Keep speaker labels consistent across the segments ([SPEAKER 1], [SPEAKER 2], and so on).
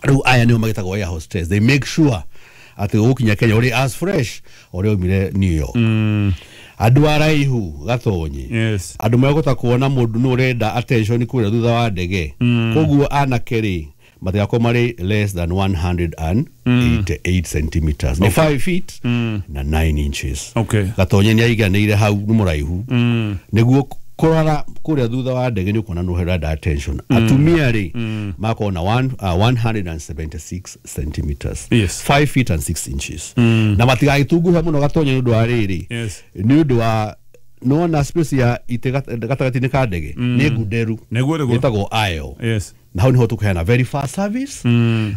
[SPEAKER 1] Rĩu aya nĩo magĩtagwo air hostess. They make sure atĩ ũgũkinya Kenya ũrĩ as fresh ũrĩa umire New York. Andũ araihu gatonyi.
[SPEAKER 2] Yes.
[SPEAKER 1] Andũ megũta kuona mũndũ nĩ ũrenda attention kũrĩa thutha wa ndege. Koguo anake rĩ matigakorwo marĩ less than 188 centimeters, nĩ 5 feet na 9 inches.
[SPEAKER 2] Okay.
[SPEAKER 1] Gatonye nĩ aiganĩire hau, nĩ mũraihu nĩguo kũrora kũrĩa thutha wa ndege nĩ ũkuona nĩ ũrenda attention. Atumia rĩ makorwo na 176 centimeters, 5 feet and 6 inches, na matigagĩtunguhe mũno gatonye nĩ ũndũ wa rĩrĩ, nĩ ũndũ wa nĩwona space ya itĩ gatagatĩ-inĩ ka ndege nĩ ngunderu.
[SPEAKER 2] Nĩguo, nĩguo.
[SPEAKER 1] Ĩtagwo aisle. Na hau niho tũkũheana very fast service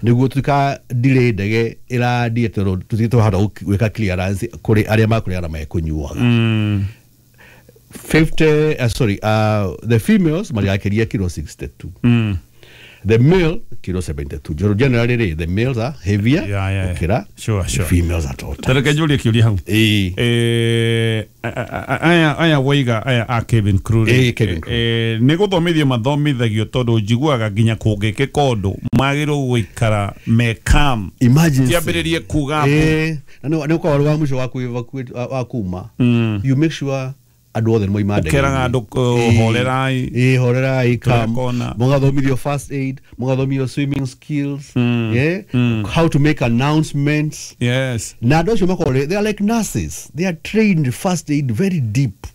[SPEAKER 1] nĩguo tutika delay ndege ĩrandie tondũ tũtige twahota gwĩka clearance kũrĩ arĩa makũrĩa na mekũnyuaga. 50 sorry, the females mariakĩria kilo 62, the male kilo 72. Joro generally rĩ, the males are heavier gũkĩra the females at all times.
[SPEAKER 2] Tareke njũrie kĩũria hau.
[SPEAKER 1] Ĩĩ.
[SPEAKER 2] Aya waiga aya a cabin crew rĩ,
[SPEAKER 1] Ĩĩ, cabin crew.
[SPEAKER 2] Nĩ gũthomithio mathomithagio tondũ njiguaga nginya kũngĩkĩka ũndũ magĩrĩirwo gũikara me calm.
[SPEAKER 1] Emergency.
[SPEAKER 2] Tiambĩrĩrie kuga hapo.
[SPEAKER 1] Na nĩ ũkorwo wa mũico wa kwĩ wa kuma, you make sure andũ othe nĩ moima ndege.
[SPEAKER 2] Ũkeraga andũ, horerai.
[SPEAKER 1] Ĩĩ, horerai, calm.
[SPEAKER 2] Tũrekona.
[SPEAKER 1] Mũgathomithio first aid, mũgathomithio swimming skills, yeah? How to make announcements. Na andũ acio makorwo they are like nurses, they are trained first aid very deep.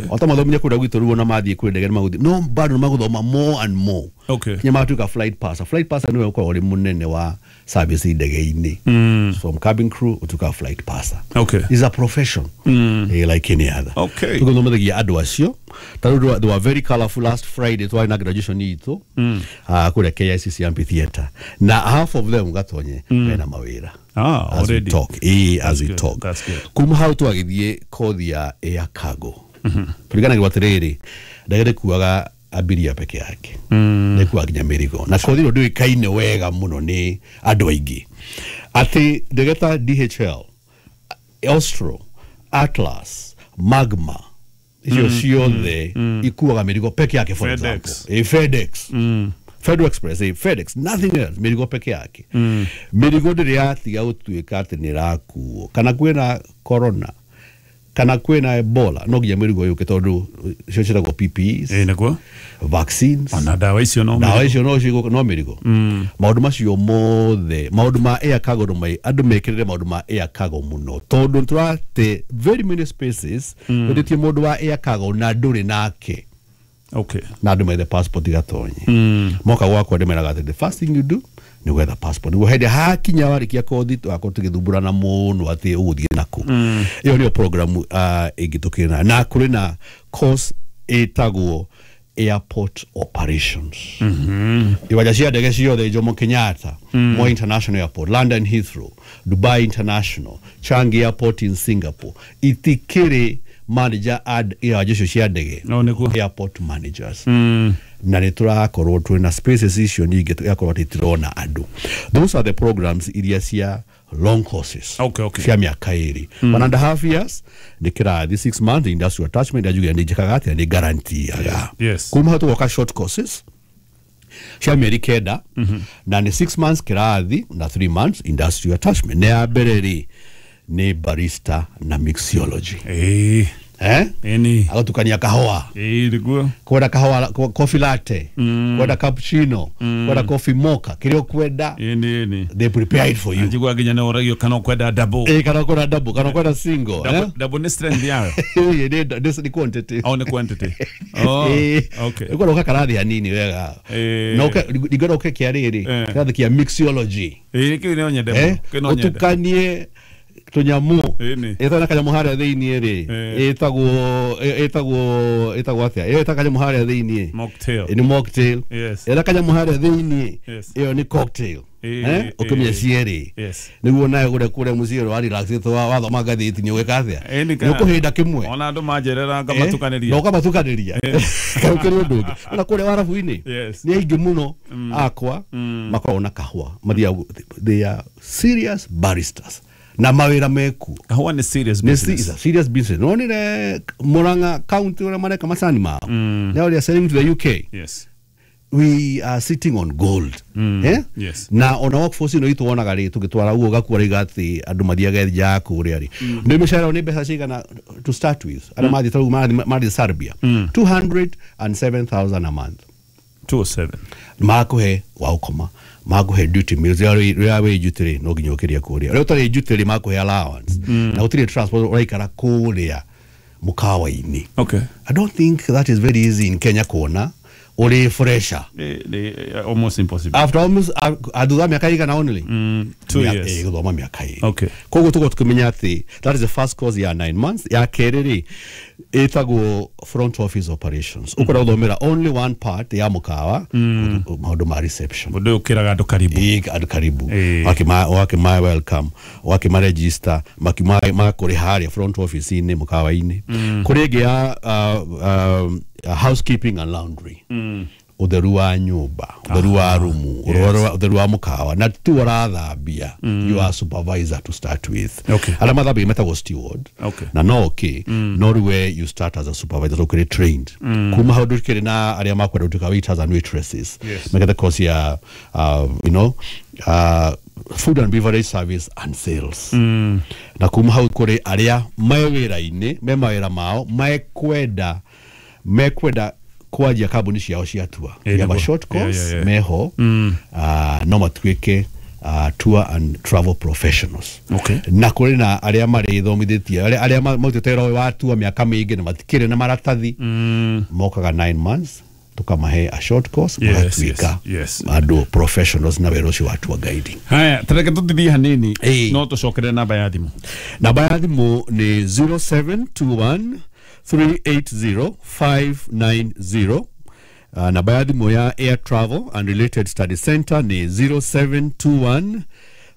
[SPEAKER 1] Ota mathomithia kũrĩa gwitũ rĩu ona mathiĩ kwĩ ndege nĩ magũthiĩ no bado nĩ magũthoma more and more kinya magatuĩka flight passer. Flight passer nĩwe ũkoragwo ũrĩ mũnene wa service ndege-inĩ. From cabin crew ũtuĩkaga flight passer. Is a profession like any other. Tũgũthomithagia andũ acio ta rĩu they were very colorful last Friday, twarĩ na graduation itũ kũrĩa KICC Amphitheatre, na half of them gatonye mena mawĩra as we
[SPEAKER 2] Already.
[SPEAKER 1] talk. As we
[SPEAKER 2] Good.
[SPEAKER 1] talk.
[SPEAKER 2] That's good.
[SPEAKER 1] Kuma hau twagĩthiĩ kothi ya air cargo. Tũriganagĩrwo atĩrĩrĩ, ndege ndĩkuaga abiria peke yake, ndĩkuaga nginya mĩrigo, na kothi ĩno ndĩũĩkaine wega mũno nĩ andũ aingĩ atĩ ndege ta DHL, Austro, Atlas, Magma, icio ciothe ikuaga mĩrigo peke yake, for
[SPEAKER 2] FedEx.
[SPEAKER 1] example. FedEx, Federal Express, FedEx, nothing else, mĩrigo peke yake. Mĩrigo ndĩrĩ yatiga gũtuĩka atĩ nĩ ĩrakuo, kana kwĩna corona kana kwĩna Ebola, no nginya mĩrigo yũke tondũ icio ciĩtagwo PPEs,
[SPEAKER 2] Ĩĩ, nĩguo.
[SPEAKER 1] vaccines.
[SPEAKER 2] Ona ndawa icio no
[SPEAKER 1] Ndawa icio no cigũka no mĩrigo. Maũndũ macio mothe, maũndũ ma air cargo no andũ mekĩrĩre maũndũ ma air cargo mũno tondũ nĩtũrate very many spaces wĩtĩtie mũndũ wa air cargo na ndũrĩ nake. Na andũ methe passport gatonye. Moka gwakwa ndĩmeraga atĩ the first thing you do nĩ gwetha passport nĩguo hĩndĩ hakinya warĩkia kothi tũgakorwo tũgĩthumbũrana mũno atĩ ũgũthiĩ nakũ. Ĩyo nĩyo program ĩngĩ tũkĩrĩ nayo, na kũrĩ na course ĩtagwo airport operations. Iwanja cia ndege ciothe, Jomo Kenyatta, Moi International Airport, London Heathrow, Dubai International, Changi Airport in Singapore, itikĩrĩ manager ad iwanja icio cia ndege.
[SPEAKER 2] No, nĩguo.
[SPEAKER 1] Airport managers, na nĩ tũrakorwo twĩna spaces icio nyingĩ tũgakorwo atĩ tũrona andũ. Those are the programs iria cia long courses cia mĩaka 2, 1.5 years nĩ kĩrathi, 6 months industrial attachment. Njugire nĩ njĩkaga atĩa, nĩ guarantee-aga. Kuma hau tũgoka short courses cia mĩeri 9, na nĩ 6 months kĩrathi na 3 months industrial attachment. Nĩ ya mbere rĩ nĩ barista na mixology. Eh?
[SPEAKER 2] Ĩni.
[SPEAKER 1] Agatukania kahũa.
[SPEAKER 2] Ĩĩ, nĩguo.
[SPEAKER 1] Kwenda kahũa coffee latte, kwenda cappuccino, kwenda coffee mocha, kĩrĩa ũkwenda,
[SPEAKER 2] Ĩni, ĩni.
[SPEAKER 1] they prepare it for you.
[SPEAKER 2] Njiguaga nginya nĩ ũragio kana ũkwenda double.
[SPEAKER 1] Kana ũkwenda double, kana ũkwenda single.
[SPEAKER 2] Double,
[SPEAKER 1] Eh?
[SPEAKER 2] double nĩ strength yayo.
[SPEAKER 1] Nĩ quantity.
[SPEAKER 2] Oh, nĩ quantity. Oh, okay.
[SPEAKER 1] Ũkwenda ũka karathi hanini wega. Na ndingĩenda ũke kĩa rĩrĩ, kĩrathi kĩa mixology.
[SPEAKER 2] Ĩĩ, kĩu no nyende
[SPEAKER 1] Eh?
[SPEAKER 2] mũno. Kĩu no nyende.
[SPEAKER 1] Ũtukanie tũnyamũ.
[SPEAKER 2] Ĩni.
[SPEAKER 1] Ĩtagwo na kanyamũ harĩa thĩiniĩ rĩ, ĩtagwo atĩa ĩyo ĩta kanyamũ harĩa thĩiniĩ?
[SPEAKER 2] Mocktail.
[SPEAKER 1] Nĩ mocktail. Ĩna kanyamũ harĩa thĩiniĩ, ĩyo nĩ cocktail. Eh? Ũkĩmenya cierĩ nĩguo nawe kũrĩa kũrĩa mũciĩ wa relax wathoma ngathĩti nĩ ũgĩka atĩa,
[SPEAKER 2] Ĩni
[SPEAKER 1] nĩ ũkũhĩnda kĩmwe.
[SPEAKER 2] Ona andũ manjerera
[SPEAKER 1] Na
[SPEAKER 2] ngamatukanĩria.
[SPEAKER 1] ũkamatukanĩria kau kĩrĩ ũndũ ũngĩ ona kũrĩa warabu-inĩ. Nĩ aingĩ mũno akwa makoragwo na kahũa mathiaga, they are serious baristas na mawĩra mekuo.
[SPEAKER 2] Kahũa nĩ serious
[SPEAKER 1] Nĩ
[SPEAKER 2] business.
[SPEAKER 1] is a serious business. Nonire Murang'a County ũrĩa mareka macani mao. Now they are selling to the UK. We are sitting on gold. Eh?
[SPEAKER 2] Yes.
[SPEAKER 1] Na ona workforce ino itu wonaga ri tugitwara uguo gakua riga ati andu mathiaga nja kuria ri ni mishahara ni mbeca cigana to start with aria mathi tarau mathi Serbia 207,000 a month.
[SPEAKER 2] 207
[SPEAKER 1] Makuhe wa ukoma, makuhe duty meals, ria wi duty ri no nginya ukiria kuria ria utari duty ri makuhe allowance na utiri transport uraikara kuria mukawa-ini.
[SPEAKER 2] Okay.
[SPEAKER 1] I don't think that is very easy in Kenya kuona uri fresher.
[SPEAKER 2] Almost impossible.
[SPEAKER 1] After almost thutha miaka igana only
[SPEAKER 2] 2 years.
[SPEAKER 1] Guthoma miaka ĩrĩ.
[SPEAKER 2] Okay.
[SPEAKER 1] Koguo tũkorwo tũkĩmenya atĩ that is the first course ya 9 months. Ya kerĩ rĩ ĩtagwo front office operations. Ũkwenda gũthomera only one part ya mũkawa, maũndũ ma reception.
[SPEAKER 2] Mũndũ ũyũ ũkĩraga andũ karibu.
[SPEAKER 1] Ĩĩ, andũ karibu.
[SPEAKER 2] Ĩĩ.
[SPEAKER 1] Wakĩma welcome, wakĩma register, makĩma makũrĩ harĩa front office-inĩ mũkawa-inĩ. Kũrĩ ĩngĩ ya housekeeping and laundry. Utheru wa nyumba, utheru wa rumu, utheru wa mukawa na tu ũrathambia. You are supervisor to start with.
[SPEAKER 2] Okay.
[SPEAKER 1] Arĩa mathambagia metagwo steward.
[SPEAKER 2] Okay.
[SPEAKER 1] Na no okay, no rĩu we you start as a supervisor so ũkĩrĩ trained. Kuma hau ndũkĩrĩ na arĩa makwenda gũtuĩka waiters and waitresses.
[SPEAKER 2] Yes.
[SPEAKER 1] Mekete course ya you know, food and beverage service and sales. Na kuma hau kũrĩ arĩa me wĩra-inĩ, me mawĩra mao mekwenda kwanjia kambuni ciao cia tour.
[SPEAKER 2] Yeah,
[SPEAKER 1] We have a
[SPEAKER 2] nĩguo.
[SPEAKER 1] short course
[SPEAKER 2] Yeah.
[SPEAKER 1] meho no matuĩke tour and travel professionals.
[SPEAKER 2] Okay.
[SPEAKER 1] Na kũrĩ na arĩa marĩthomithĩtie arĩa marutĩte wĩra ũyũ wa tour mĩaka mĩingĩ na matikĩrĩ na maratathi, mokaga 9 months tukamahe a short course,
[SPEAKER 2] Yes,
[SPEAKER 1] magatuĩka
[SPEAKER 2] yes, yes.
[SPEAKER 1] andũ professionals na wĩra ũcio wa tour guiding.
[SPEAKER 2] Haya, tareke tũtithie hanini
[SPEAKER 1] Ĩĩ.
[SPEAKER 2] no tũcokere namba ya thimũ.
[SPEAKER 1] Namba ya thimũ nĩ 0721 380 590. Namba ya thimũ ya Air Travel and Related Study Center nĩ 0721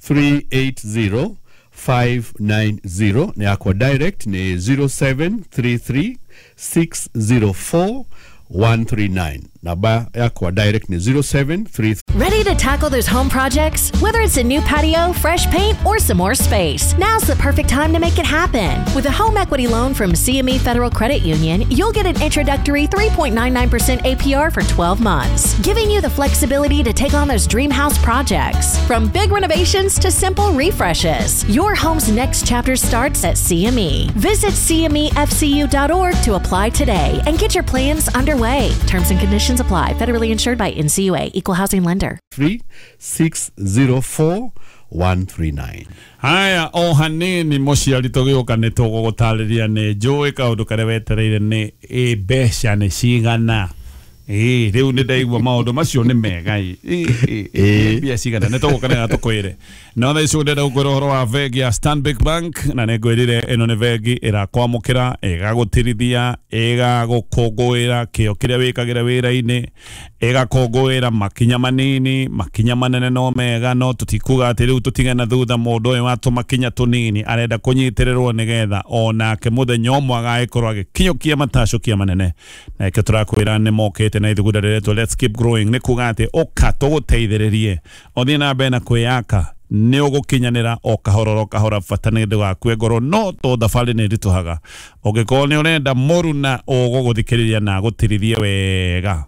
[SPEAKER 1] 380 590. Na yakwa direct nĩ 0733 604 139. Namba yakwa direct nĩ 0733.
[SPEAKER 3] Ready to tackle those home projects? Whether it's a new patio, fresh paint, or some more space, now's the perfect time to make it happen. With a home equity loan from CME Federal Credit Union, you'll get an introductory 3.99% APR for 12 months, giving you the flexibility to take on those dream house projects. From big renovations to simple refreshes, your home's next chapter starts at CME. Visit cmefcu.org to apply today and get your plans underway. Terms and conditions apply. Federally insured by NCUA, Equal Housing Lender.
[SPEAKER 1] 3 604 139.
[SPEAKER 2] Haya, o hanini mũciari tũgĩũka nĩ tũgũgũtarĩria nĩ njũĩ kaũndũ karĩa wetereire nĩ ĩ mbeca nĩ cigana. Ĩ rĩu nĩ ndaigua maũndũ macio nĩ mega ĩ. Ĩ, ĩ, mbia cigana nĩ tũgũka na tũkwĩre. No thaa ici ndĩrenda gũkwĩra ũhoro wa bengi ya Stanbic Bank na nĩ ngwĩrire ĩno nĩ bengi ĩrakwamũkĩra, ĩgagũtirithia, ĩgagũkũngũĩra kĩo kĩrĩa wĩkagĩra wĩra-inĩ, ĩgakũngũĩra makinya manini, makinya manene no mega, no tũtikuga atĩ rĩu tũtige na thutha mũndũ ũyũ wa tũmakinya tũnini arenda kũnyitĩrĩrwo nĩgetha onake mũthenya ũmwe agagĩkorwo agĩkinyũkia matacũkia manene. Na ĩkĩo tũrakwĩra nĩ mokĩte na ithugunda rĩretwo Let's Keep Growing, nĩ kuga atĩ ũka tũgũteithĩrĩrie ũthiĩ na mbere na kwĩyaka nĩ ũgũkinyanĩra o kahora o kahora, bata nĩ ndũgakue ngoro no to thabarĩ nĩ ĩritũhaga. Ũngĩkorwo nĩ ũrenda mũruna ũgũgũthikĩrĩria na agũtirithie wega,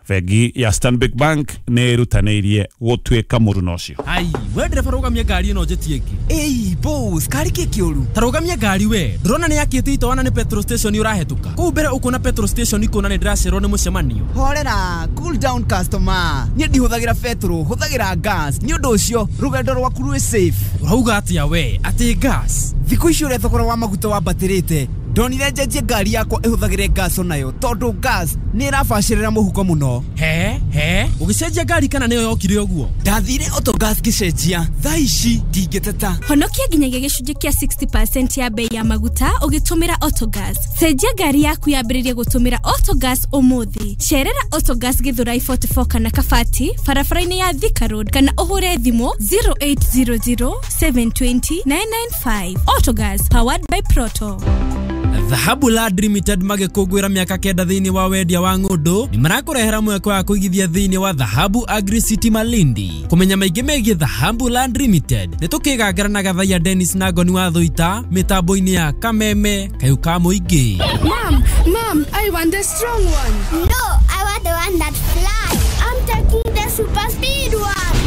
[SPEAKER 2] bengi ya Stanbic Bank nĩ ĩrutanĩirie gũtuĩka mũruna ũcio.
[SPEAKER 4] Ai, we ndereba rũgamia ngari ĩno njĩtie ĩngĩ.
[SPEAKER 5] Ĩi boss, kari kĩ kĩũru?
[SPEAKER 4] Ta rũgamia ngari we, ndũrona nĩ yakĩte itoana nĩ petrol station ũrahetũka. Kũu mbere ũkuona petrol station ikuona nĩ ndĩracererwo nĩ mũcemanio.
[SPEAKER 5] Horera, cool down customer. Niĩ ndihũthagĩra petrol, hũthagĩra gas. Nĩ ũndũ ũcio rũgendo rwaku rwĩ safe.
[SPEAKER 4] Ũrauga atĩa we? Atĩ gas?
[SPEAKER 5] Thikũ ici ũrĩa thogora wa maguta wambatĩrĩte, ndonire njenjie ngari yakwa ĩhũthagĩre gas onayo tondũ gas nĩ ĩrabacĩrĩra mũhuko mũno.
[SPEAKER 4] He he, ũgĩcenjia ngari kana nĩyo yokire ũguo?
[SPEAKER 5] Ndathire Autogas ngĩcenjia, thaa ici ndingĩteta.
[SPEAKER 6] Honokia nginyagia gĩcunjĩ kĩa 60% ya bei ya maguta ũgĩtũmĩra Autogas. Cenjia ngari yaku yambĩrĩrie gũtũmĩra Autogas ũmũthĩ. Cerera Autogas Githurai 44 kana Kabati, barabara-inĩ ya Thika Road, kana ũhũre thimũ 0800 720 995. Autogas, powered by Proto.
[SPEAKER 4] Dhahabu Land Limited magĩkũngũĩra mĩaka 9 thĩinĩ wa wendia wa ng'ũndũ nĩ marakũrehera mweke wa kũigithia thĩinĩ wa Dhahabu Agri City Malindi. Kũmenya maingĩ megiĩ Dhahabu Land Limited nĩ tũkĩgangara na Gathaiya Dennis na Ngoni wa Thũita mĩtambo-inĩ ya Kameme Kayũ ka Mũingĩ.
[SPEAKER 7] Mom, Mom, I want the strong one.
[SPEAKER 8] No, I want the one that flies. I'm
[SPEAKER 7] super speed one.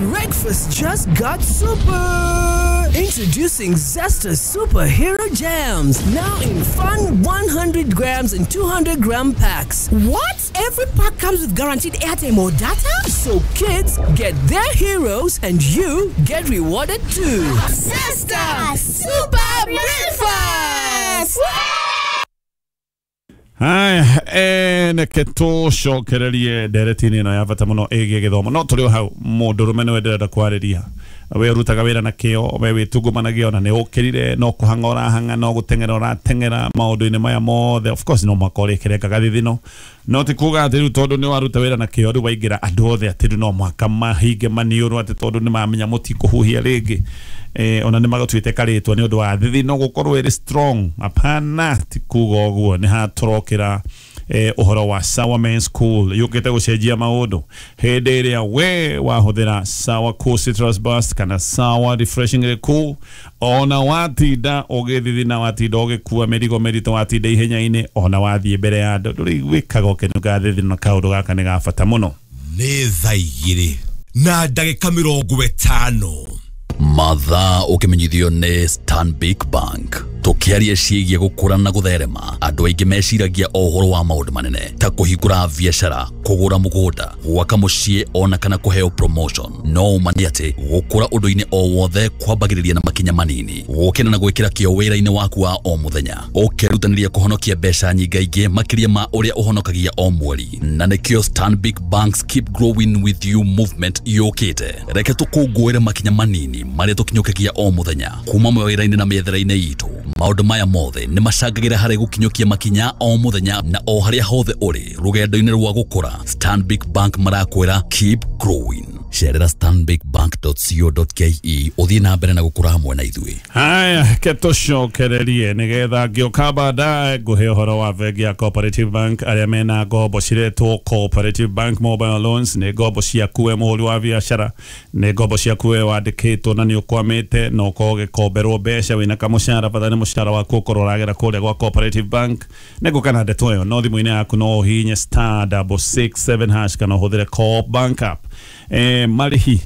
[SPEAKER 8] Breakfast just got super! Introducing Zesta Superhero Jams, now in fun 100 grams and 200 gram packs.
[SPEAKER 9] What? Every pack comes with guaranteed airtime or data?
[SPEAKER 8] So kids get their heroes and you get rewarded too.
[SPEAKER 9] Zesta Super Breakfast!
[SPEAKER 2] Haya, reke tũcokererie ndereti-inĩ ĩno ya bata mũno ĩgiĩ gĩthomo. No tũrĩ o hau, mũndũrũme nĩwe ndĩrenda kwarĩria. We ũrutaga wĩra na kĩo, we wĩtungumanagia ona nĩ ũkĩrire, no kũhang'a ũrahang'a, no gũteng'era ũrateng'era maũndũ-inĩ maya mothe. Of course no mũhaka ũrĩkĩrengaga thithino, no ti kuga atĩ rĩu tondũ nĩ waruta wĩra na kĩo rĩu waingĩra andũ othe atĩ rĩu no mũhaka mahinge maniũrũ atĩ tondũ nĩ mamenya mũtikũhuhia rĩngĩ. Ona nĩ magatuĩte karĩtwa nĩ ũndũ wa thithino gũkorwo ĩrĩ strong. Hapana, ti kuga ũguo. Nĩ hatũrokĩra ũhoro wa Sawa Men School yũkĩte gũcenjia maũndũ hĩndĩ ĩrĩa we wahũthĩra Sawa Cool Citrus Burst kana Sawa Refreshingly Cool, ona watinda ũgĩthithina, watinda ũgĩkua mĩrigo mĩritũ, watinda ihenya-inĩ, ona wathiĩ mbere ya andũ ndũrĩiguĩkaga ũkĩnunga thithino. Kaũndũ gaka nĩ ga bata mũno.
[SPEAKER 10] Nĩ thaa 2:50.
[SPEAKER 11] Mathaa ũkĩmenyithio nĩ Stanbic Bank. Tũkĩaria ciĩgiĩ gũkũra na gũtherema, andũ aingĩ meciragia o ũhoro wa maũndũ manene ta kũhingũra biacara, kũgũra mũgũnda, gwaka mũciĩ ona kana kũheo promotion. No ũma nĩ atĩ gũkũra ũndũ-inĩ o wothe kwambagĩrĩria na makinya manini, gũkĩra na gwĩkĩra kĩo wĩra-inĩ waku wa o mũthenya, ũkerutanĩria kũhonokia mbeca nyingaingĩ makĩria ma ũrĩa ũhonokagia o mweri. Na nĩkĩo Stanbic Bank's Keep Growing With You movement yũkĩte. Reke tũkũngũĩre makinya manini marĩa tũkinyũkagia o mũthenya kuma mawĩra-inĩ na mĩethere-inĩ itũ. Maũndũ maya mothe nĩ macangagĩra harĩ gũkinyũkia makinya o mũthenya na o harĩa hothe ũrĩ rũgendo-inĩ rwa gũkũra. Stanbic Bank marakwĩra keep growing. Cerera stanbicbank.co.ke ũthiĩ na mbere na gũkũra hamwe na ithuĩ.
[SPEAKER 2] Haya, ke tũcokererie nĩgetha ngĩũka baadaye ngũhe ũhoro wa bengi ya Cooperative Bank arĩa mena ngombo ciretwo Cooperative Bank Mobile Loans. Nĩ ngombo ciaku we mũhũri wa biacara, nĩ ngombo ciaku we wandĩkĩtwo na nĩ ũkwamĩte na ũkorwo ũgĩkomberwo mbeca wĩna kamũcara, bata nĩ mũcara waku ũkorwo ũragera kũrĩa gwa Cooperative Bank. Nĩ ngũka na ndeto ĩyo, no thimũ-inĩ yaku no ũhihinye *667# kana ũhũthĩre Co-op Bank app. Marĩhi.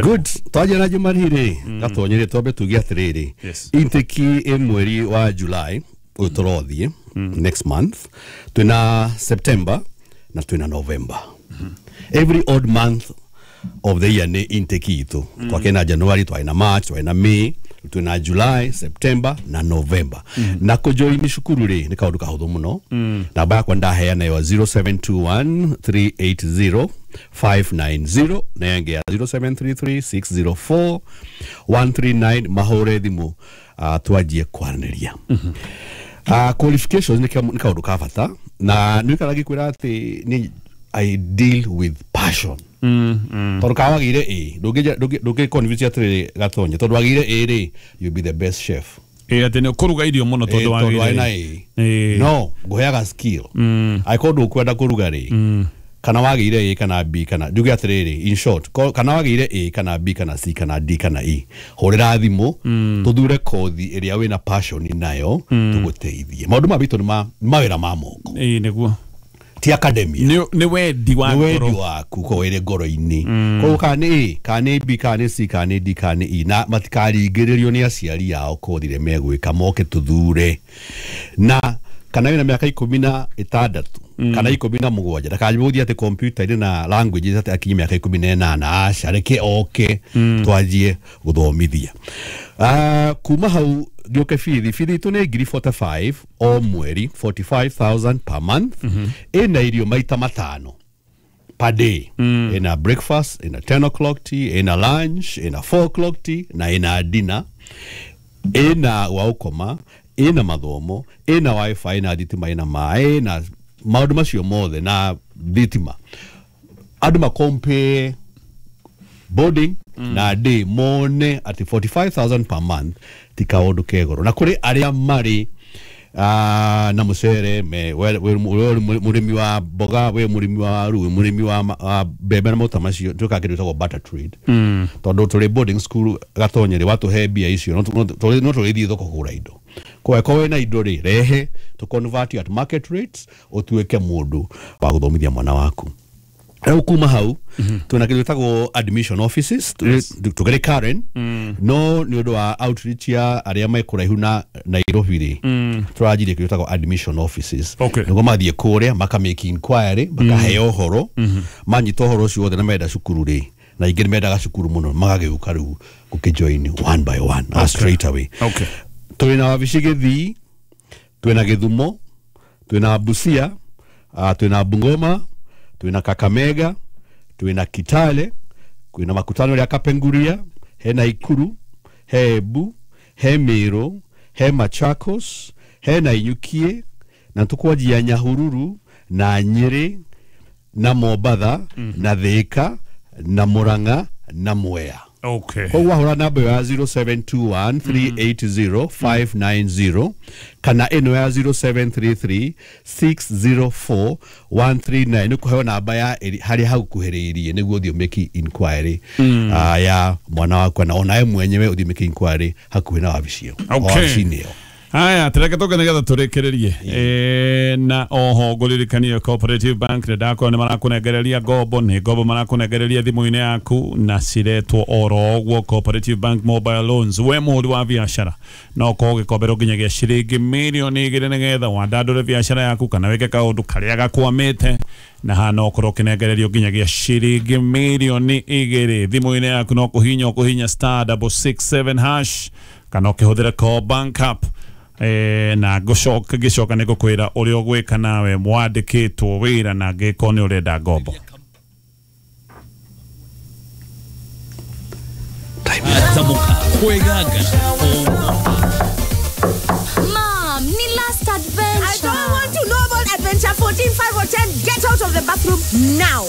[SPEAKER 1] Good. Twanjia na marĩhi rĩ, gatonyere twambe tuge atĩrĩrĩ, intake ĩ mweri wa July ũyũ tũrothiĩ next month, twĩna September na twĩna November. Every odd month of the year nĩ intake itũ. Twakĩ na January, twarĩ na March, twarĩ na May, twĩna July, September na November. Na kũjoini cukuru rĩ nĩ kaũndũ kahũthũ mũno. Namba yakwa ndaheana yo 0721 380 590 na ĩngĩ ya 0733 604 139. Mahũre thimũ twanjie kwaranĩria. Qualifications nĩ kaũndũ ka bata, na nĩ ikara ngĩkwĩra atĩ nĩ I deal with passion. Tondũ ka wagĩire A, ndũngĩ convince atĩrĩrĩ Gatonye, tondũ wagĩire A rĩ, you'll be the best chef.
[SPEAKER 2] Atĩ nĩ ũkũruga irio mũno tondũ
[SPEAKER 1] wagĩire na A. No, ngũheaga skill. Angĩkorwo ndũkwenda kũruga rĩ, kana wagĩire A kana B kana njuge atĩrĩrĩ, in short, kana wagĩire A kana B kana C kana D kana E, hũrĩra thimũ tũthure kothi ĩrĩa wĩna passion nayo tũgũteithie. Maũndũ ma bitũ nĩ mawĩra ma moko.
[SPEAKER 2] Ĩĩ nĩguo.
[SPEAKER 1] Ti academia.
[SPEAKER 2] Nĩ wendi wa
[SPEAKER 1] ngoro. Nĩ wendi waku ko wĩrĩ ngoro-inĩ. Koguo kana nĩ A, kana nĩ B, kana nĩ C, kana nĩ D, kana nĩ E, na matikaringĩrĩrio nĩ aciari ao kothi ĩrĩa megwĩka, moke tũthure. Na kana wĩna mĩaka 16 kana 17, ndakanjie gũthiĩ atĩ computer-inĩ na languages atĩ akinye mĩaka 18, aca reke oke twanjie gũthomithia. Kuma hau ngĩũke bithi itũ nĩ ngiri 45 o mweri, 45,000 per month. Ĩna irio maita matano per day. Ĩna breakfast, ĩna 10 o'clock tea, ĩna lunch, ĩna 4 o'clock tea na ĩna dinner, ĩna gwa gũkoma, ĩna mathomo, ĩna wifi, ĩna thitima, ĩna maĩ, na maũndũ macio mothe na thitima. Andũ makompare boarding na day mone atĩ 45,000 per month ti kaũndũ ke goro. Na kũrĩ arĩa marĩ na mũcere, we mũrĩmi wa mboga, we mũrĩmi wa waru, we mũrĩmi wa mbembe na maũta macio, twĩkaga kĩndũ gĩtagwo barter trade. Tondũ tũrĩ boarding school Gatonye rĩ, watũhe mbia icio no tũrĩthiĩ thoko kũgũra indo. Kwa wĩna indo rĩ, rehe tũ convert you at market rates, ũtuĩke mũndũ wa gũthomithia mwana waku. Rĩu kuma hau twĩna kĩndũ gĩtagwo admission offices tũkĩrĩ Karen, no nĩ ũndũ wa outreach ya arĩa me kũraihu na Nairobi rĩ, tũranjirie kĩndũ gĩtagwo admission offices.
[SPEAKER 2] Okay.
[SPEAKER 1] Nĩguo mathiĩ kũrĩa maka make inquiry, makaheo ũhoro, manyita ũhoro ũcio wothe na menda cukuru rĩ, na ingĩ nĩ mendaga cukuru mũno, magagĩũka rĩu gũkĩjoin one by one, okay, straight away.
[SPEAKER 2] Okay.
[SPEAKER 1] Twĩna wabici Gĩthii, twĩna Gĩthumo, twĩna Busia, twĩna Bungoma, twĩna Kakamega, twĩna Kitale, kwĩna makutano rĩa Kapenguria, hena Ikuru, he Embu, he Meru, he Machakos, he Nanyukie, na tukwanjia Nyahururu na Nyeri na Mombatha na Thika na Murang'a na Mwea.
[SPEAKER 2] Okay.
[SPEAKER 1] Koguo wahũra namba ĩyo ya 0721 380 590 kana ĩno ya 0733 604 139 nĩ kũheo namba ya harĩa hagukuhĩrĩirie nĩguo ũthiĩ ũmake inquiry ya mwana waku na onawe mwenyewe ũthiĩ ũmake inquiry hakuhĩ na wabici ĩyo.
[SPEAKER 2] Okay.
[SPEAKER 1] Wabici-inĩ ĩyo.
[SPEAKER 2] Haya, tereke tũke nĩgetha tũrĩkĩrĩrie. Na oho ngũririkanie Cooperative Bank nĩ ndakorwo nĩ marakũnengereria ngombo, nĩ ngombo marakũnengereria thimũ-inĩ yaku na ciretwo oro ũguo Cooperative Bank Mobile Loans. We mũhũri wa biacara no ũkorwo ũgĩkomberwo nginyagia ciringi mirioni 2 nĩgetha wandandũre biacara yaku kana wĩke kaũndũ karĩa gakwamĩte, na haha no ũkorwo ũkĩnengererio nginyagia ciringi mirioni 2 thimũ-inĩ yaku. No kũhinya ũkũhinya *667# kana ũkĩhũthĩra Co Bank app. Na ngũcoka ngĩcoka nĩ ngũkwĩra ũrĩa ũgwĩka nawe mwandĩkĩtwo wĩra na angĩkorwo nĩ ũrenda ngombo.
[SPEAKER 6] Mom, ni last adventure.
[SPEAKER 9] I don't want to know about adventure 14, 5 or 10. Get out of the bathroom now.